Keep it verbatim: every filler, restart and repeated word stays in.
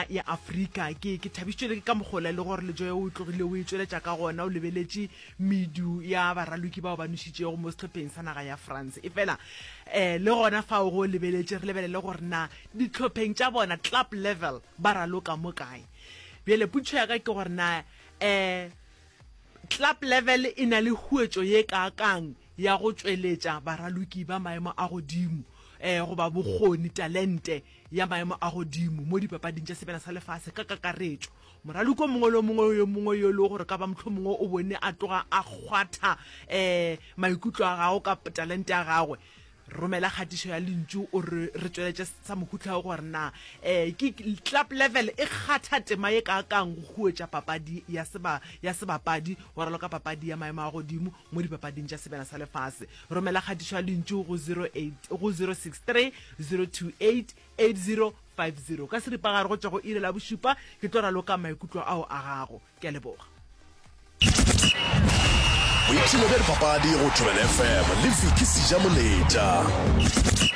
ya Afrika. Ke ke thabišitšwe le ke ka mokgola e le gore Lejoe o tlogile o e tšweletša ka gona, o lebeletše medu ya baraloki bao ba nošitšego mo sehlopheng sa naga ya France. Efela um le gona fao go lebeletše re lebelele gore na dihlopheng tša bona, club level, ba raloka mo kae. Bjale potšišo ya ka ke gore na um club level e na le huetšo ye kaakang ya go tšweletša baraloki ba maemo a godimo um goba bokgoni, talente ya maemo a godimo mo dipapading tša Sebjana sa Lefase ka kakaretšo. Moraloki o mongwe le o mongwe yo mongwe yo e lego gore ka ba mohlomongwe o bone a tloga a kgwatha um maikutlo a gago ka talente ya gagwe, romela kgatišo ya lentšu o re re tšweletše sa mohuta wo gore na um ke club level e kgatha tema ye kaakang go huetša papadi ya seba ya sebapadi go raloka papadi ya maemo a godimo mo dipapading tša Sebjana sa Lefase. Romela kgatišo ya lentšu go zero eight go zero six three zero two eight eight zero five zero. Ka seripagare go tšwa go iri la bošupa ke tlo raloka maikutlo ao a gago. Ke a leboga. Boipshino bja dipapadi go Thobela F M le Vicky Sejamoletša.